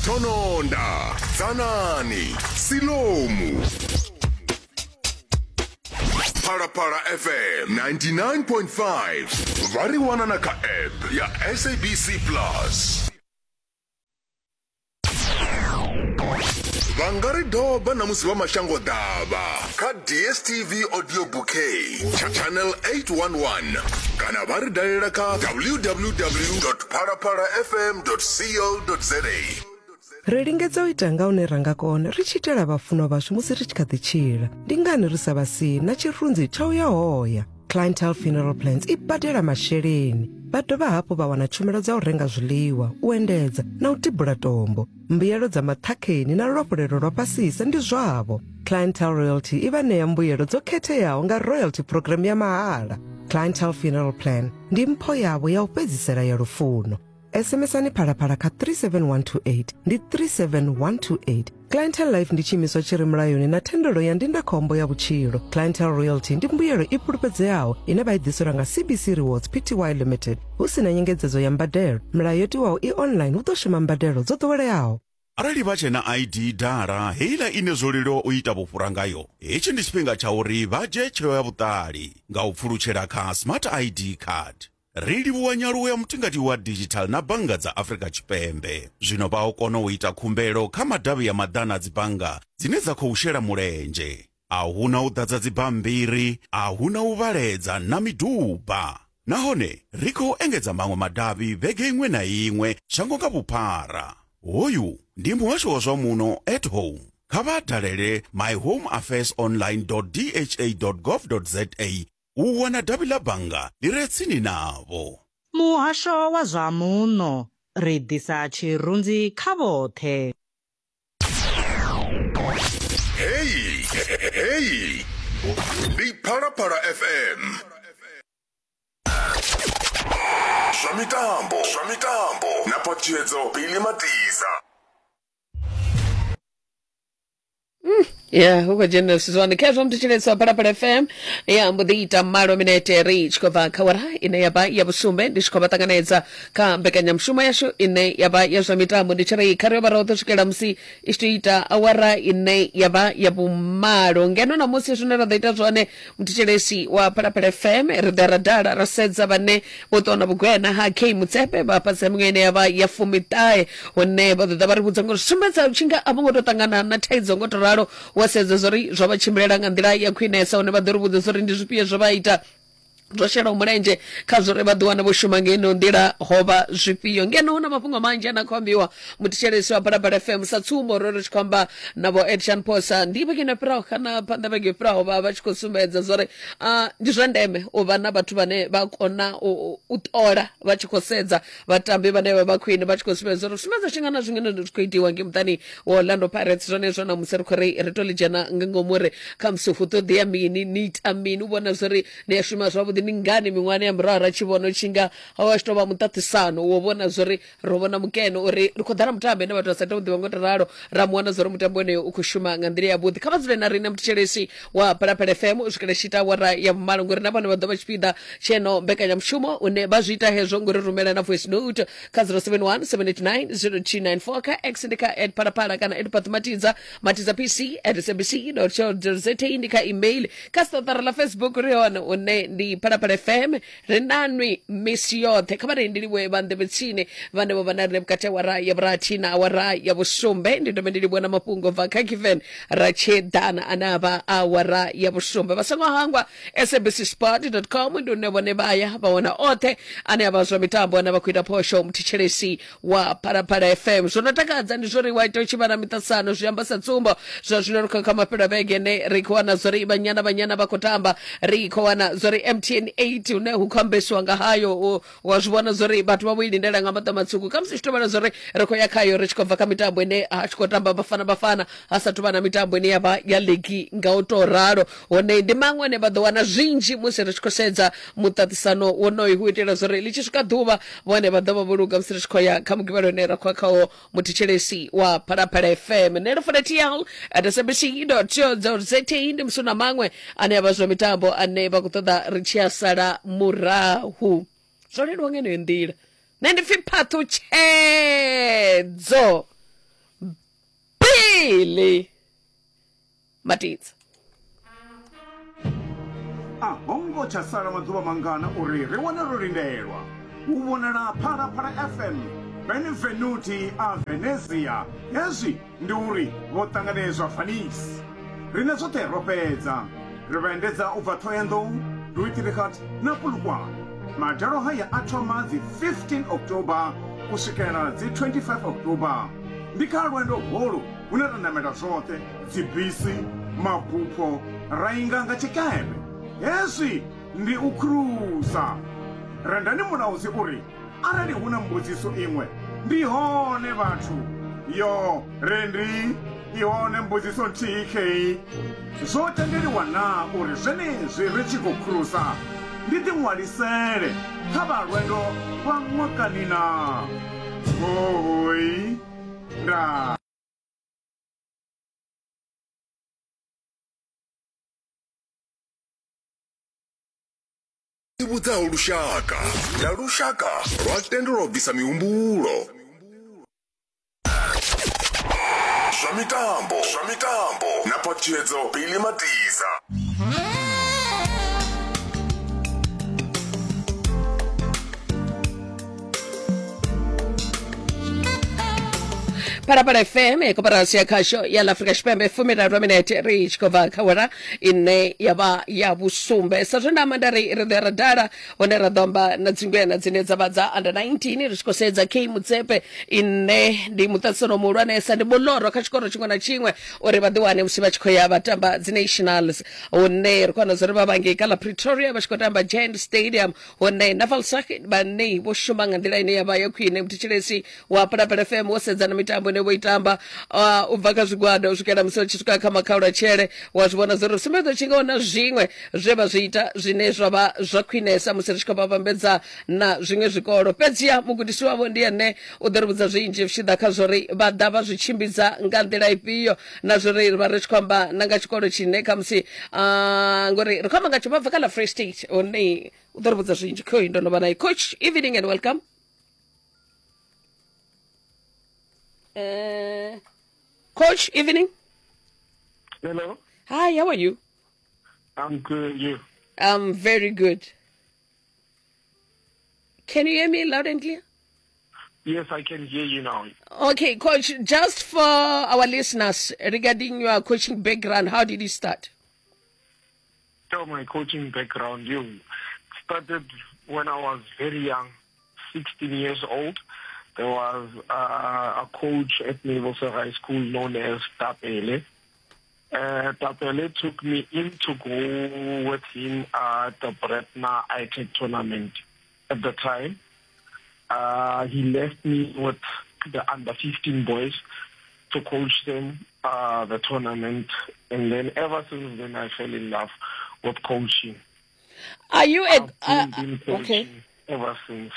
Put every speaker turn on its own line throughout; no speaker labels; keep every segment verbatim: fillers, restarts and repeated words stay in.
Tononda, Dzanani, Silomu. Phalaphala F M ninety-nine point five. Vha ri wana na kha app ya S A B C Plus. Vha nga ri doba na musi vha mashango ḓavha kha D S T V Audio Bouquet channel eight one one, kana vha ri dalela kha w w w phalaphala f m co za.
Ri lingedza u ita nga hune ra nga kona ri tshi itela vhafunwa vhashu musi ri tshi kha ḓi tshila. Ndi ngani ri sa vha sii na tshirunzi tsha u ya hoya? Clientele Funeral Plans i badela masheleni, vha dovha hafhu vha wana tshumelo dza u renga zwiḽiwa, u endedza na u tibula tombo. Mbuyelo dza maṱhakheni na luafhulelo lwa fhasisa ndi zwavho. Clientele Royalty i vha ṋea mbuyelo dzo khetheaho nga royalty program ya mahala. Clientele Funeral Plan ndi mpho yavho ya u fhedzisela ya lufuno. S M S-ani Phalaphala kha three seven one two eight, ndi three seven one two eight. Clientele Life ndi tshiimiswa tshi re mulayoni na thendelo ya ndindakhombo ya vhutshilo. Clientele Royalty ndi mbuyelo i fhulufhedzeaho ine vha i ḓiselwa nga C B C Rewards Pty Limited, hu si na nyengedzedzo ya mbadelo. Milayo yo tiwaho i online, hu ḓo shuma mbadelo dzo ḓoweleaho.
Arali vha tshe na I D dala heiḽa ine zwo leluwa u ita vhufhura ngayo, hetshi ndi tshifhinga tsha uri vha dzhie tsheo ya vhuṱali nga u pfulutshela kha Smart I D card. Ri livhuwa nyaluwo ya mutingati wa digital na bannga dza Afrika Tshipembe. Zwino vha o kona u ita khumbelo kha madavhi ya maḓana a dzibannga dzine dza khou shela mulenzhe. A huna u ḓadza dzibammbiri, a huna u vhaledza na miduba, nahone ri khou engedza maṅwe madavhi vhege iṅwe na iṅwe shango nga vhuphara. Hoyu ndi muhasho wa zwa muno at home. Kha vha dalele my home affairs online dot d h a dot gov dot za u wana davhi ḽa bannga ḽi re tsini navho.
Muhasho wa zwa Muno, ri ḓisa tshirunzi kha vhoṱhe.
Hey, hey, ndi Phalaphala F M. Zwa mitambo, zwa mitambo na Phatshedzo Billy Matisa.
Ya hu khou dzhena zwithu zwone khezwo mthetshelesi wa Phalaphala F M. Ya mbo ḓi ita malo minete ri tshi khou bva kha wara ine ya vha ya vhusumbe. Ndi tshi khou vha ṱanganedza kha mbekanyamushumo yashu ine ya vha ya zwa mitambo. Ndi tshi ri kha ri yo vha roṱhe swikela musi i tshi tou ita awara ine ya vha ya vhumalo. Ngeno namusi zwine ra ḓo ita zwone, muthetshelesi wa Phalaphala F M, ri ḓa ra dala ra sedza vhane vho ṱuwa na vhugwena ha K Mutsepe vha fhasi ha miṅwe ine ya vha ya fumiṱahe, hune vha ḓo ḓa vha ri vhudza ngori sumbedza u tshi nga a vho ngo tou ṱangana na thaidzo ngo to ralo, wa sedza zwori zwo vha tshimbilela nga nḓila ya khwinesa, hune vha ḓo ri vhudza zwori ndi zwifhio zwo vha ita zwo shelaho mulenzhe kha zwori vha ḓi wana vho shuma ngeno nḓila ho vha zwifhio. Ngeno hu na mafhungo manzhi ane a khou ambiwa, muthetshelesi wa Phalaphala F M. Sa tsumbo, ro ri tshi khou amba na vho Edson Phosa ndi vhege ino fhiraho kana phanḓa vhege yo fhiraho, vha vha tshi khou sumbedza zwori uh, ndi zwa ndeme u vha na vhathu vhane vha kona u u ṱola vha tshi khou sedza vhatambi vhane vha vha khwine, vha tshi khou sumbedza uri sumbedza tshi nga na zwiṅwe zwi khou itiwa ngei muṱani wa Orlando Pirates. Zwone zwo na musi ri khou ri ri to ḽi dzhena nga ngomu uri khamusi hu ṱoḓea mini, ni ita mini u vhona zwori ni a shuma zwavhuḓi. Ndi ngani miṅwahani ya murahu ra tshi vhona u tshi nga ho vha tshi tou vha muṱaṱisano wo vhona zwori ro vhona mukene uri ri khou ḓala mutambo ine vhathu vha sa tea u ḓivha ngo to ralo, ra mu wana zwori mutambo woneyo u khou shuma nga nḓila yavhuḓi. Kha vha dzule na riṋe, muthetshelesi wa Phalaphala F M, u swikela tshi ita awara ya vhumalo, ngori na vhone vha ḓo vha tshipiḓa tsheno mbekanyamushumo, une vha zwi ita hezwo ngori rumela na voice note kha zero seven one seven eight nine zero two nine four, kha X ndi kha at phalaphala kana at pathmatidza matidza p c at s a b c co za. Ndi kha email, kha siṱaṱara ḽa Facebook ri hone, une ndi Phalaphala F M. Ri nanwi misi yoṱhe. Kha vha ri ndi livhuwe vha nḓevhe tsini vhane vho vha na riṋe vhukati awara ya vhurathi na awara ya vhusumbe. Ndi dovhe ndi livhuwe na mafhungo bva kha Given ra tsheḓana ane a vha awara ya vhusumbe. Vha songo hangwa s a b c sport com, ndi une vhone vha ya vha wana oṱhe ane a vha zwa mitambo ane vha khou ita phosho. Muthetshelesi wa Phalaphala F M, zwo no takadza ndi zwori wa ita u tshi vha na miṱaṱisano. Zwi amba sa tsumbo, zwa zwino ri khou kha mafhelo a vhege ne ri khou wana zwori Banyana Banyana vha khou tamba, ri khou wana zwori M T N eight hune hu khou ambesiwa nga hayo. u- wa zwi vhona zwori vhathu vha vho i lindela nga maṱo matswuku, khamusi tshi tou vhala zwori ri khou ya khayo ri tshi khou bva kha mitambo ine ha tshi khou tamba Bafana Bafana, ha sathu vha na mitambo ine ya vha ya ligi nga u tou ralo. Hone ndi maṅwe ane vha ḓo wana zwinzhi musi ri tshi khou sedza muṱaṱisano wonoyu, hu itela zwori ḽi tshi swika ḓuvha vhone vha ḓo vha vho luga musi ri tshi khou ya kha mugivhelo une ra khou ya khawo. Muthetshelesi wa Phalaphala F M, nṋe Lufuno T L at s a b c co za, ndi musi na maṅwe ane a vha zwa mitambo ane vha khou ṱoḓa ri tshi a sala murahu. Zwo leluwa nga yeneyo nḓila. Nṋe ndi pfi Phaṱhutshedzo. Phaṱhutshedzo Billy Matidza.
A hongo tsha sala maḓuvha mangana uri ri wane ro lindelwa u vhonala Phalaphala F M Benvenuti a Venezia. Hezwi ndi uri vho ṱanganedzwa Venice. Rine zwoṱhe ro fhedza, ri vha endedza u bva Thohoyandou, Louis na Polokwane. Madalo haya a thoma dzi fifteen October u swikela dzi twenty-five October. Ndi kha lwendo holu hune ra namela zwoṱhe, dzibisi, mabupho, ra inga nga tshikepe. Hezwi ndi u khurusa. Rendani Mulaudzi uri arali hu na mbudziso iṅwe ndi hone vhathu. Yo rendi i hone mbudziso nthihi khei. Zwo tendeliwa na uri zwenezwi ri tshi khou khurusa ndi ḓiṅwalisele kha vha lwendo lwa ṅwakani na? Hoi nda.
Vhudzaho lushaka na lushaka lwa tendelwa u bvisa mihumbulo. Zwa mitambo, zwa mitambo na Phaṱhutshedzo Billy Matidza.
Phalaphala F M koporasi ya khasho ya ḽa Afrika Tshipembe fumiraru minete ri tshi khou bva kha wara ine ya vha ya vhusumbe. Sa zwe nda amba nda ri ri ḓo ya ra dala hone ra ḓo amba na dzingwena dzine dza vha dza under nineteen ri tshi khou sedza K Motsepe ine ndi muṱaṱisano muhulwanesa, ndi muloro kha tshikolo tshiṅwe na tshiṅwe uri vha ḓiwane musi vha tshi khou ya vha tamba dzi nationals, hune ri khou wana zwo ri vha vhangei kha ḽa Pretoria vha tshi khou tamba Giant Stadium, hune Navalsag vhane vho shuma nga nḓila ine ya vha ya khwine. Muthetshelesi wa Phalaphala F M wo sedza na mitambo ine vho i tamba u bva kha zwigwada u swikela musi tshi swika kha makhaulatshele, wa zwi vhona zwo ri sumbedza tshi nga na zwiṅwe zwe vha zwi ita zwine zwa vha zwa khwinesa musi ri tshi khou vha vhambedza na zwiṅwe zwikolo. Fhedziha mugudisi wavho ndi ene u ḓo ri vhudza zwinzhi zwi tshi ḓa kha zwori vha ḓa vha zwi tshimbidza nga nḓila ifhio, na zwori ri vha ri tshi khou amba na nga tshikolo tshine khamusi ngori ri khou amba nga tsho vha bva kha ḽa Free State, hune u ḓo ri vhudza zwinzhi. Khoyi ndo no vha naye. Coach, evening and welcome. Uh, Coach, evening.
Hello.
Hi, how are you?
I'm good. You?
I'm very good. Can you hear me loud and clear?
Yes, I can hear you now.
Okay, Coach, just for our listeners, regarding your coaching background, how did you start?
So my coaching background, you started when I was very young, sixteen years old. There was uh, a coach at Navalsag High School known as Tapele. Uh, Tapele took me in to go with him at the Bretna I T E C tournament at the time. Uh, he left me with the under fifteen boys to coach them uh, the tournament. And then ever since then, I fell in love with coaching.
Are you
I've
uh,
been coaching
okay.
ever since.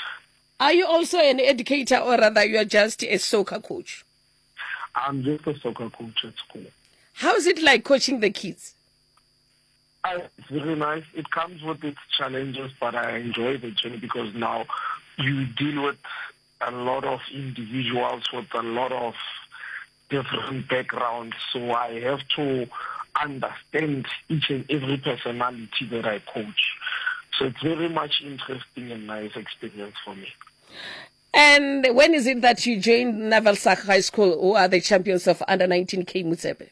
Are you also an educator, or rather you are just a soccer coach?
I'm just a soccer coach at school.
How is it like coaching the kids?
Uh, it's very nice. It comes with its challenges, but I enjoy the journey because now you deal with a lot of individuals with a lot of different backgrounds. So I have to understand each and every personality that I coach. So it's very much interesting and nice experience for me.
And when is it that you joined Navalsag High School, who are the champions of under nineteen K Motsepe?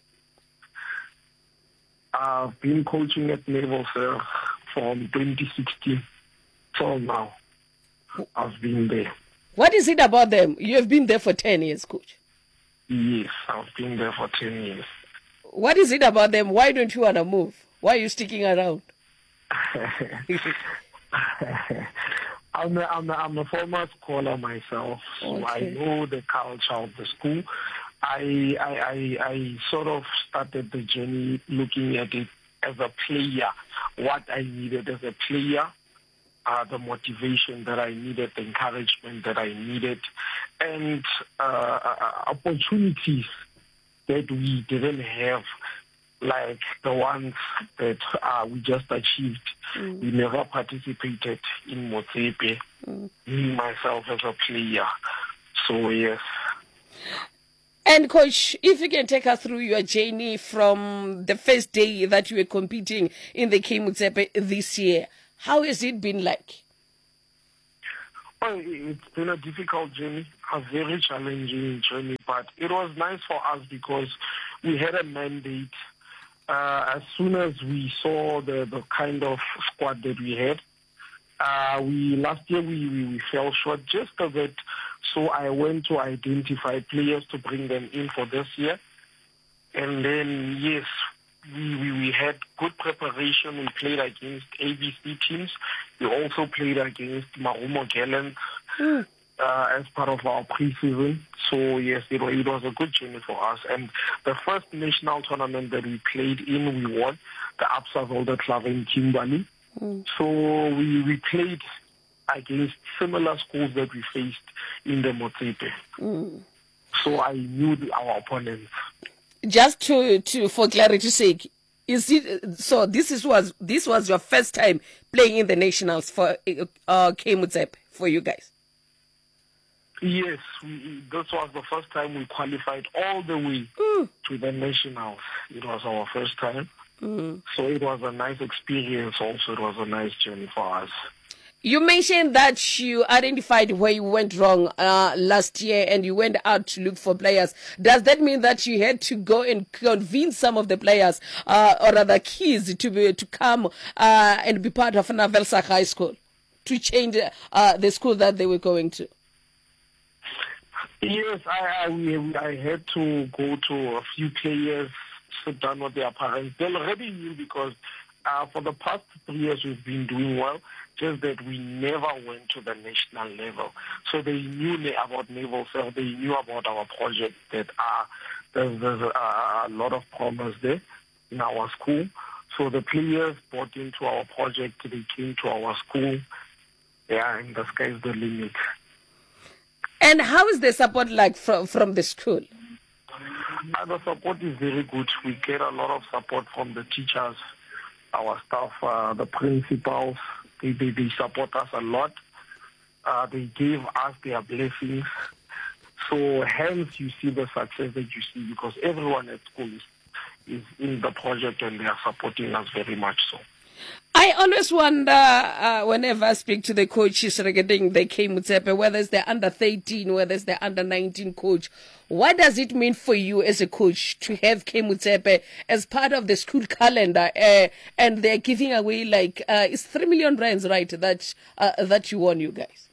I've been coaching at Navalsag from twenty sixteen till now. I've been there.
What is it about them? You have been there for ten years, coach.
Yes, I've been there for ten years.
What is it about them? Why don't you want to move? Why are you sticking around?
I'm a, I'm a, I'm a former scholar myself, so
okay.
I know the culture of the school. I, I, I, I sort of started the journey looking at it as a player, what I needed as a player, uh, the motivation that I needed, the encouragement that I needed, and uh, opportunities that we didn't have, like the ones that uh, we just achieved. Mm. We never participated in Motsepe, mm. me, myself as a player. So, yes,
And coach, if you can take us through your journey from the first day that you were competing in the Kay Motsepe this year, how has it been like?
Well, it's been a difficult journey, a very challenging journey, but it was nice for us because we had a mandate. Uh, as soon as we saw the, the kind of squad that we had, uh, we last year we, we, we fell short just a bit, so I went to identify players to bring them in for this year. And then, yes, we, we, we had good preparation. We played against A B C teams. We also played against Marumo Gallants mm. uh, as part of our preseason. So, yes, it, it was a good journey for us. And the first national tournament that we played in, we won, the Absa Wildeklawer in Kimberley. Mm. So we, we played against similar schools that we faced in the Motsepe. Mm. So I knew the, our opponents.
Just to, to for clarity's sake, is it so? This is was this was your first time playing in the nationals for uh, Kay Motsepe for you guys?
Yes, we, this was the first time we qualified all the way mm. to the nationals. It was our first time, mm. so it was a nice experience. Also, it was a nice journey for us.
You mentioned that you identified where you went wrong uh, last year and you went out to look for players. Does that mean that you had to go and convince some of the players uh, or other kids to be, to come uh, and be part of Navelsa High School to change uh, the school that they were going to?
Yes, I, I, I had to go to a few players, sit down with their parents. They already knew because uh, for the past three years we've been doing well, just that we never went to the national level. So they knew about Navelsa, they knew about our project, that uh, there's, there's a, a lot of promise there in our school. So the players bought into our project, they came to our school. Yeah, and the sky's the limit.
And how is the support like from, from the school?
Uh, the support is very good. We get a lot of support from the teachers, our staff, uh, the principals. They, they, they support us a lot. Uh, they give us their blessings. So hence you see the success that you see because everyone at school is, is in the project and they are supporting us very much so.
I always wonder uh, whenever I speak to the coaches regarding the Kay Motsepe, whether it's the under thirteen, whether it's the under nineteen coach, what does it mean for you as a coach to have Kay Motsepe as part of the school calendar? Uh, and they're giving away like, uh, it's three million rands, right, that, uh, that you won, you guys?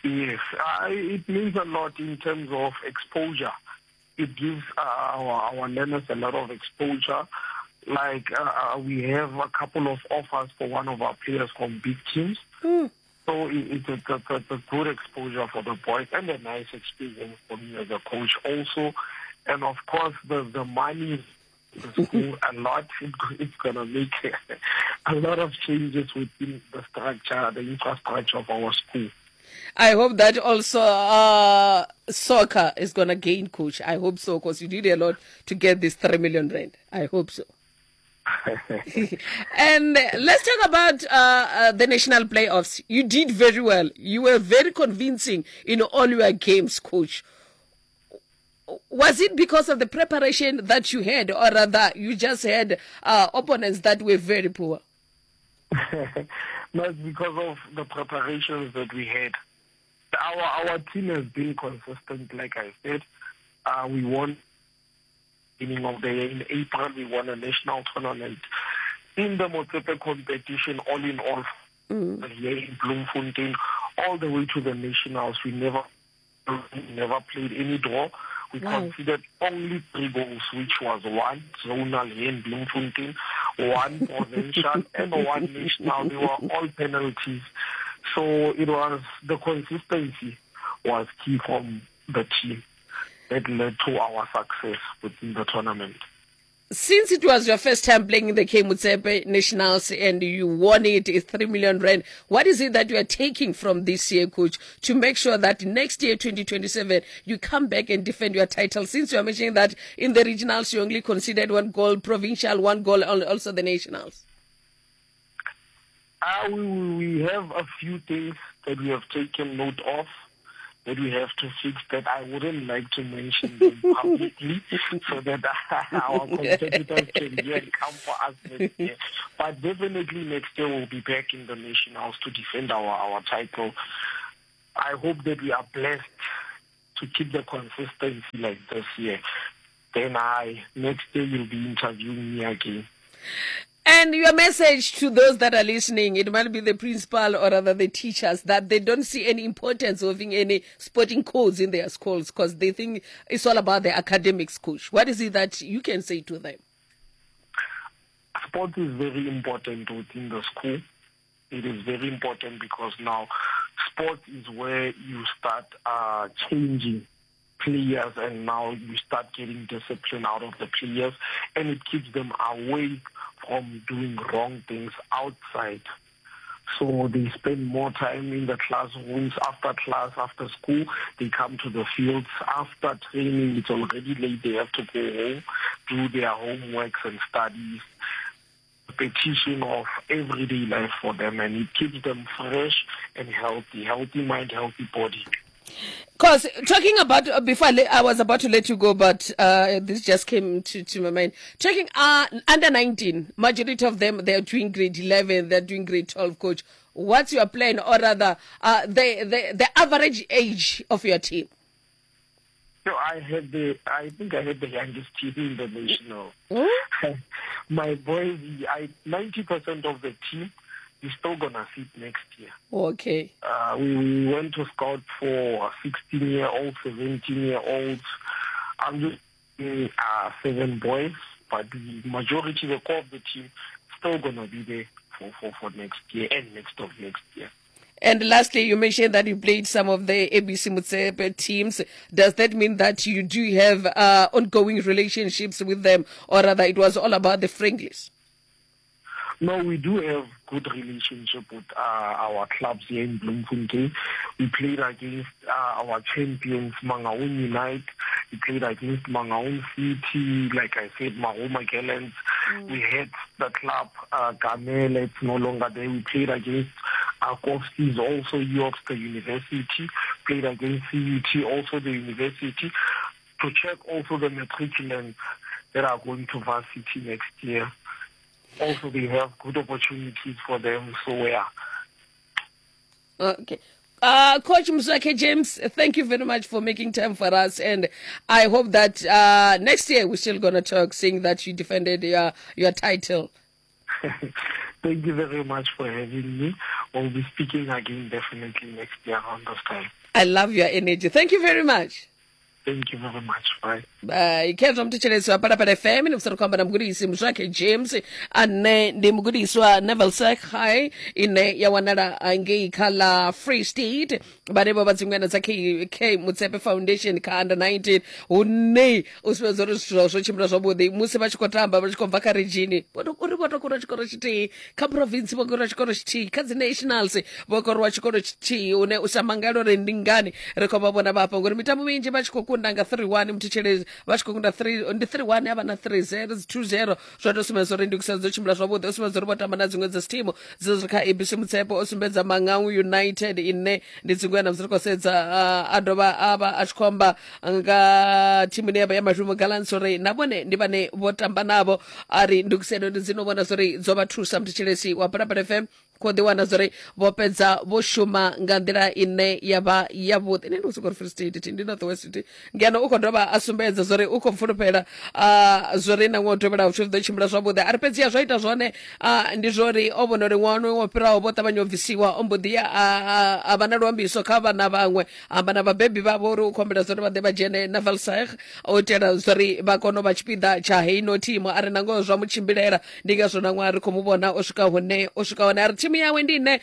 Yes, uh, it means a lot in terms of exposure. It gives uh, our, our learners a lot of exposure. Like, uh, we have a couple of offers for one of our players from big teams. Mm. So it, it's, a, it's, a, it's a good exposure for the boys and a nice experience for me as a coach also. And, of course, the, the money the school a lot. It, it's going to make a lot of changes within the structure, the infrastructure of our school.
I hope that also uh, soccer is going to gain, coach. I hope so, because you did a lot to get this three million rand. I hope so. And let's talk about uh, uh, the national playoffs. You did very well. You were very convincing in all your games, coach. Was it because of the preparation that you had, or rather you just had uh, opponents that were very poor?
No, it's because of the preparations that we had. Our, our team has been consistent, like I said. Uh, we won beginning of the year. In April, we won a national tournament. In the Motsepe competition, all in all, mm. here in Bloemfontein, all the way to the nationals, we never, we never played any draw. We wow. conceded only three goals, which was one zonal here in Bloemfontein, one provincial, and one national. They were all penalties. So it was the consistency was key from the team that led to our success within the tournament.
Since it was your first time playing in the Kay Motsepe Nationals and you won it, it's three million rand, what is it that you are taking from this year, coach, to make sure that next year, twenty twenty-seven, you come back and defend your title? Since you are mentioning that in the regionals, you only considered one goal, provincial, one goal, and also the nationals.
Uh, we, we have a few things that we have taken note of that we have to fix that I wouldn't like to mention them publicly so that our competitors can hear and come for us next year. But definitely next year we'll be back in the Nationals to defend our, our title. I hope that we are blessed to keep the consistency like this year. Then I, next year you'll be interviewing me again.
And your message to those that are listening, it might be the principal or rather the teachers, that they don't see any importance of having any sporting codes in their schools because they think it's all about the academics, coach. What is it that you can say to them?
Sport is very important within the school. It is very important because now sport is where you start uh, changing players, and now you start getting discipline out of the players, and it keeps them away from doing wrong things outside. So they spend more time in the classrooms after class, after school. They come to the fields after training. It's already late. They have to go home, do their homeworks and studies. Repetition of everyday life for them, and it keeps them fresh and healthy. Healthy mind, healthy body.
Because talking about, uh, before I, I was about to let you go, but uh, this just came to, to my mind. Talking uh, under nineteen, majority of them, they're doing grade eleven, they're doing grade twelve, coach. What's your plan, or rather, uh, the, the, the average age of your team?
So I had the, I think I had the youngest team in the national.
Mm?
My boys, I, ninety percent of the team is still gonna sit next year.
Okay.
Uh, we, we went to scout for sixteen-year-olds, seventeen-year-olds. I'm just uh, seven boys, but the majority, the core of the team, still gonna be there for, for, for next year and next of next year.
And lastly, you mentioned that you played some of the A B C Motsepe teams. Does that mean that you do have uh, ongoing relationships with them, or rather it was all about the friendlies?
No, we do have good relationship with uh, our clubs here in Bloemfontein. We played against uh, our champions, Mangaung Unite. We played against Mangaung City, like I said, Mahoma Gallants. Mm. We had the club, uh, Gamel, it's no longer there. We played against uh, Kovskis, also Yorkster University. Played against C U T, also the university. To check also the matriculants that are going to varsity next year. Also, they have good opportunities for them, so yeah.
Okay. Uh, Coach Mzwakhe James, thank you very much for making time for us, and I hope that uh, next year we're still going to talk, seeing that you defended your, your title.
Thank you very much for having me. We'll be speaking again definitely next year around this time.
I love your energy. Thank you very much.
Thank you very much. Bye.
Bye. Khezwa mthetshelesi wa Phalaphala F M ni musari khou amba na mugudisi Mzwakhe James ane ndi mugudisi wa Navalsec High ine ya wanala ngei kha ḽa Free State, vhane vho vha dzingwena dza K K Motsepe Foundation kha under nineteen, hune u sumbedza uri zwithu zwo tshimbila zwavhuḓi musi vha tshi khou tamba vha tshi khou bva kha region, uri vho to kora tshikoro tshithihi kha province, vho kora tshikoro tshithihi kha dzi nationals, vho korwa tshikoro tshithihi, hune u sa mangala uri ndi ngani ri khou vha vhona vhafha ngori mitambo minzhi vha tshi khou kunda nga three one, mthetshelezi vha tshi khou kunda three ndi three one ya vha na three zero two zero, zwa to sumbedza uri ndugiselo dzo tshimbila zwavhuḓi. O sumbedza uri vho tamba na dziṅwe dza thimu dzi ri kha A B C Motsepe, o sumbedza Mangaung United ine ndi dziṅwe na musi ri khou sedza, a dovha a vha a tshi khou amba nga thimu ine ya vha ya Marumo Gallants uri na vhone ndi vhane vho tamba navho, a ri ndugiselo ndi dzino vhona zori dzo vha thusa. Mthetshelesi wa Phalaphala F M khou ḓi wana zori vho fhedza vho shuma nga nḓila ine ya vha yavhuḓi. Nṋe ndi khou sokou ri Free State ndi North West, ngeno u khou dovha a sumbedza zori u khou fulufhela zori na ṅwaha u tevhelaho zwithu zwi ḓo tshimbila zwavhuḓi. A ri fhedziha zwa ita zwone ndi zwori o vhona uri ṅwaha wo fhiraho vho ṱavhanya u bvisiwa, o mbo ḓi ya a vha na luambiso kha vhana vhaṅwe, amba na vhabebi vhavho uri u khou humbela zori vha ḓe vha dzhene na Valsag u itela zori vha kone u vha tshipiḓa tsha heino thimu. A ri nangoho zwa mu tshimbilela, ndi ngazwo na ṅwaha ri khou mu vhona o swika hune o swika hone. A ri thimu yawe ndi ine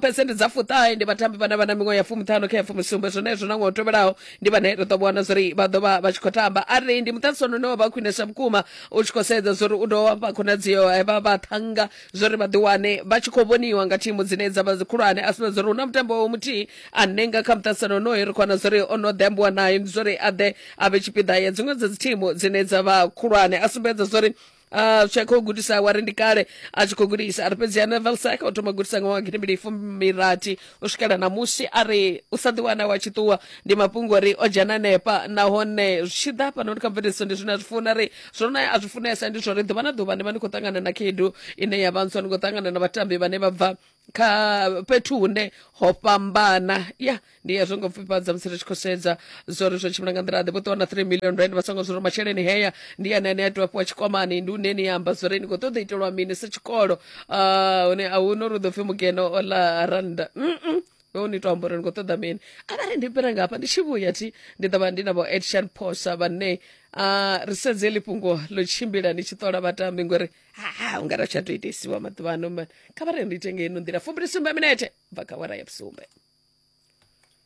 phesenthe dza fuṱahe ndi vhatambi vhane vha na miṅwaha ya fumiṱhanu kha ya fumisumbe, zwenezwo na ṅwaha u tevhelaho ndi vhane ri ḓo vhona zori vha ḓo vha vha tshi khou tamba. A ri ndi muṱaṱisano une wa vha khwinesa vhukuma u tshi khou sedza zori u ḓo vha khonadzeo vha vhaṱhannga zori vha ḓi wane vha tshi khou vhoniwa nga thimu dzine dza vha dzi khulwane. A sumbedza uri hu na mutambo wa muthihi ane nga kha muṱaṱisano honoyo ri khou wana zori o no ḓi ambiwa naye, ndi zori a ḓe a vhe tshipiḓa ya dziṅwe dza dzi thimu dzine dza vha khulwane. A sumbedza zori uh, tsha khou gudisa wa ri ndi kale a tshi khou gudisa a ri fhedzi Neville Saka o thoma gudisa nga ṅwaha gidimbili fumirathi u swikela ṋamusi a ri u sa ḓiwana wa tshi ṱuwa ndi mafhungo uri o dzhena nepa nahone zwi tshi ḓa hafhanoni kha mveledziso ndi zwine a zwi funa ri zwone a zwi funesa ndi zwori ḓuvha na ḓuvha ni vha ni khou ṱangana na khaedu ine ya vha ntswa ni khou ṱangana na vhatambi vhane vha bva kha fhethu hune ho fhambana ya ndi hezwo ngo pfufhifhadza musi ri tshi khou sedza zwori zwo tshimbila nga nḓila ḓe vho ṱuwa na three million rand vha songo zwori masheleni heya ndi ane ane a tea u fhiwa tshikwamani ndi une ni amba zwori ni khou ṱoḓa itelwa mini sa tshikolo uh, hune a hu no uri u ḓo pfhi mugeno o ḽa rannda mm -mm. ni to amba uri ni khou ṱoḓa mini arali ndi fhira ngafha ndi tshi vhuya thi ndi ḓo vha ndi na vho Action Posa vhane uh, ri sedze heḽi fhungo ḽo tshimbila ni tshi ṱola vhatambi ngori ha u nga ra tsha tou itesiwa maḓuvha ano man kha vha ri ndi ite ngeno nḓila fumbili sumbe minete bva kha wara ya vhusumbe.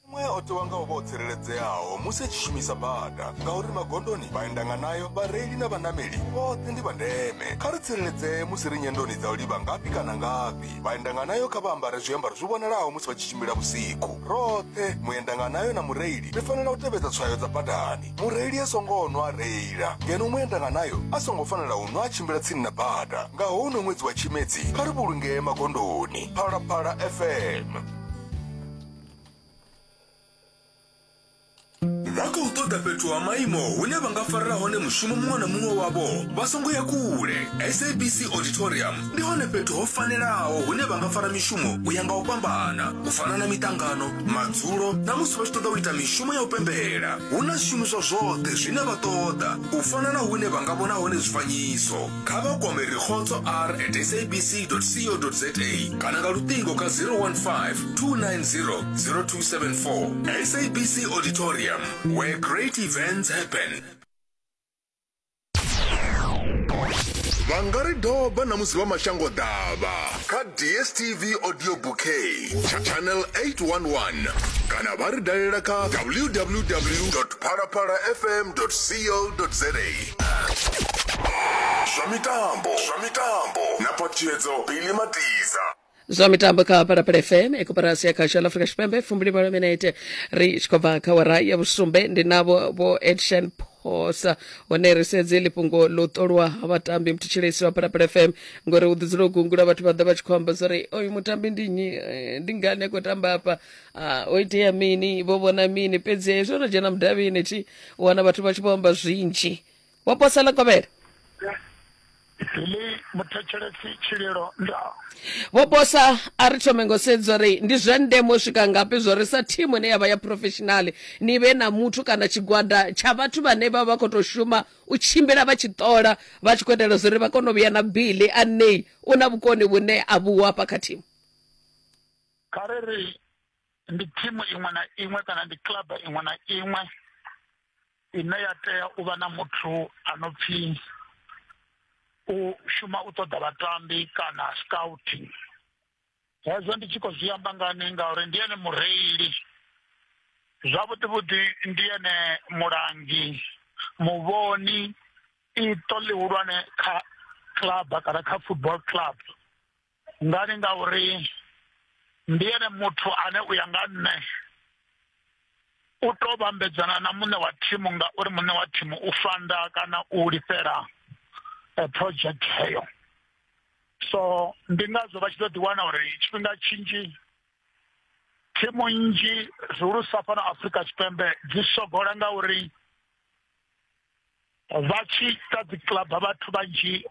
Muṅwe o tewa nga u vha o tsireledzeaho musi a tshi shumisa bada ngauri magondoni vhaendanganayo vhareili na vhanameli vhoṱhe ndi vha ndeme. Kha ri tsireledzee musi ri nyendoni dza u livha ngafhi kana ngafhi. Vhaendanganayo kha vha ambare zwiambaro zwi vhonalaho musi vha tshi tshimbila vhusiku. Roṱhe muendanganayo na mureili ri fanela u tevhedza tswayo dza badani. Mureili a songo nwa a reila ngeno muendanganayo a songo fanela u nwa a tshimbila tsini na bada. Nga houno ṅwedzi wa Tshimedzi kha ri vhulungee magondoni. Phalaphala F M. Vha khou ṱoḓa fhethu ha maimo hune vha nga farela hone mushumo muṅwe na muṅwe wavho vha songo ya kule. S A B C Auditorium ndi hone fhethu ho fanelaho hune vha nga fara mishumo u ya nga u fhambana, u fana na miṱangano, madzulo na musi vha tshi ṱoḓa u ita mishumo ya u pembela. Hu na zwishumiswa zwoṱhe zwine vha ṱoḓa, u fana na hune vha nga vhona hone zwifanyiso. Kha vha kwame Rikhotso R at S A B C dot co dot za kana nga luṱingo kha zero one five two nine zero zero two seven four. S A B C Auditorium, where great events happen. Vha nga ri doba na musi vha mashango ḓavha kha D S T V Audio Bouquet channel eight one one kana vha ri dalela kha w w w dot phalaphala f m dot co dot za. Zwa mitambo, zwa mitambo na Phatshedzo Billy Matiza.
Zwa mitambo kha Phalaphala F M ekoporasi ya khasho la Afrika Tshipembe fumbili malo minete ri tshi khou bva kha wara ya vhusumbe ndi navho vho Action Phosa hone ri sedze ḽi fhungo ḽo ṱolwa ha vhatambi muthetshelesi wa Phalaphala F M ngori u ḓi dzula u gungula vhathu vha ḓa vha tshi khou amba zwori oyu mutambi ndi nnyi, ndi ngani a khou tamba afha, o itea mini, vho vhona mini. Fhedzi hezwo no dzhena mudavhini thi u wana vhathu vha tshi vho amba zwinzhi. Vho Posa ḽa kovhela
Li muthetshelesi tshililo nda
Vho Posa a ri thome ngo sedza uri ndi zwa ndeme u swika ngafhi zwo ri sa thimu ine ya vha ya professional ni vhe na muthu kana tshigwada tsha vhathu vhane vha vha khou tou shuma u tshimbila vha tshi ṱola vha tshi khou itela zwo ri vha kone u vhuya na bili anei u na vhukoni vhune a vhuwa hafha kha thimu.
Kha ri ri ndi thimu iṅwe na iṅwe kana ndi club iṅwe na iṅwe ine ya tea u vha na muthu a no pfi u shuma u ṱoḓa vhatambi kana scouting. Hezwo ndi tshi khou zwi amba ngani ngauri ndi ene mureili, zwavhuḓi vhuḓi ndi ene mulangi, muvhoni, iṱo ḽihulwane kha club kana kha football club. Ngani ngauri ndi ene muthu ane u ya nga nṋe u to vhambedzana na muṋe wa thimu ngauri muṋe wa thimu u fanda kana u lifhela project heyo. So ndi ngazwo vha tshi ḓo ḓiwana uri tshifhinga tshinzhi thimu nnzhi zwihulusa fhano Afrika Tshipembe dzi sogola ngauri vha tshi ita dzi club vhathu vhanzhi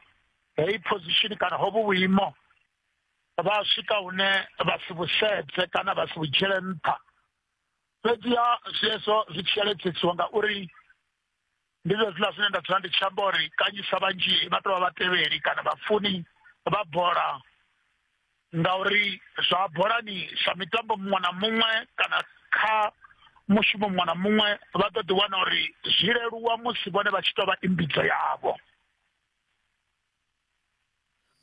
heyi position kana hovhu vhuimo vha swika hune vha si vhusedze kana vha si vhu dzhiele nṱha. Fhedziha zwezwo zwi tshi yaledzesiwa ngauri ndi zwe zwiḽa zwine nda dzula ndi tshi amba uri kanzhisa vhanzhi vha tou vha vhatevheli kana vhafuni vha bola, ngauri zwa bolani sa mitambo muṅwe na muṅwe kana kha mushumo muṅwe na muṅwe vha ḓo ḓi wana uri zwi leluwa musi vhone vha tshi tou vha imbidzo yavho.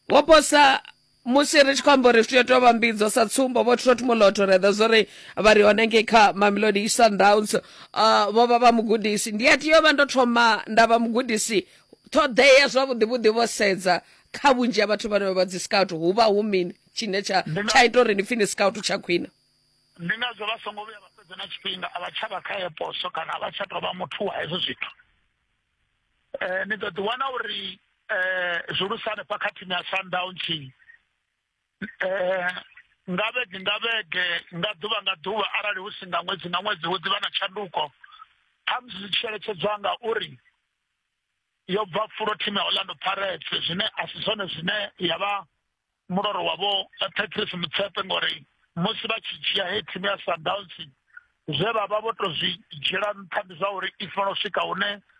Vho Posa, musi ri tshi khou amba uri zwi tea u tou vha mbidzo sa tsumbo vho Trot Moloto ri ḓa zwori vha ri hone ngei kha Mamelodi Sundowns uh, vho vha vha mugudisi ndi a tea u vha ndo thoma nda vha mugudisi ṱhoḓea zwavhuḓi vhuḓi vho sedza kha vhunzhi ha vhathu vhane vha dzi scout hu vha hu mini tshine tsha tsha ita uri ni pfi ni scout tsha khwine.
Ndi ngazwo vha songo vhuya vha fhedza na tshifhinga a vha tsha vha kha ye poso kana a vha tsha tou vha muthu wa hezwo zwithu. Eh, ni ḓo ḓi wana uri eh zwihulusa hanefha kha thimu ya Sundowns eh nga vhege nga vhege nga ḓuvha nga ḓuvha arali hu si nga ṅwedzi nga ṅwedzi hu ḓivha na tshanduko khamusi zwi tshi eletshedzwa nga uri yo bva fulo thimu ya Orlando Pirates zwine a si zwone zwine ya vha muloro wavho Patrice Motsepe ngori musi vha tshi dzhia heyi thimu ya Sundowns zwe vha vha vho to zwi dzhiela nṱha ndi zwa uri i fanela u swika hune